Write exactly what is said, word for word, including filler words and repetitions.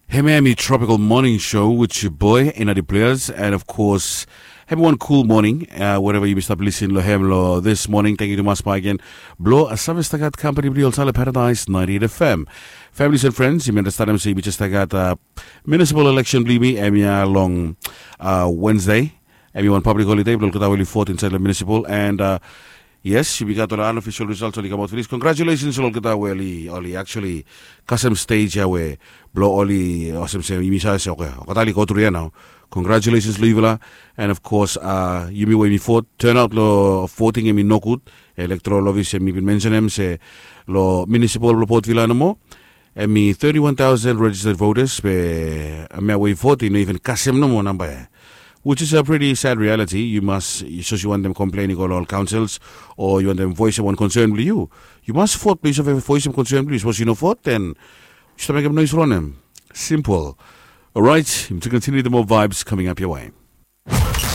Hemia hemi Tropical Morning Show with your boy Enadi Players, and of course, hemi wan cool morning, uh, wherever yumi stap lisin lo hem lo this morning. Thank you tumas bae gen blo, uh, Save Stagat Company blo yu olsem lo Paradise ninety-eight F M. Families and friends, yumi understand se yumi just gat, uh, municipal election blo yumi hemia long, uh, Wednesday. Hemi wan public holiday blo olgeta we oli vote inside lo municipal, and, uh, yes, yumi gat ol unofficial results oli kamaot finis. Congratulations lo olgeta we oli, oli actually kasem stage ia we blo oli olsem se yumi save se, okay, olgeta oli go tru ia nao. Congratulations lo yufala. And of course, uh, yumi we yumi vote, turnout lo voting hemi nogud. Electoral office hemi bin mensenem se lo municipal blo Port Vila nomo, hemi thirty-one thousand registered voters, be hemia we i vote i no even kasem nomo namba ia. Which is a pretty sad reality. Yu mas, sapos yu wantem komplen i go lo ol councils, o yu wantem voesem wan concern blo yu, yu mas vote blo yu save voesem concern blo yu. Sapos yu no vote, then yu stap mekem nois lo wanem? Simple. Alright, yumi continue the more vibes coming up your way.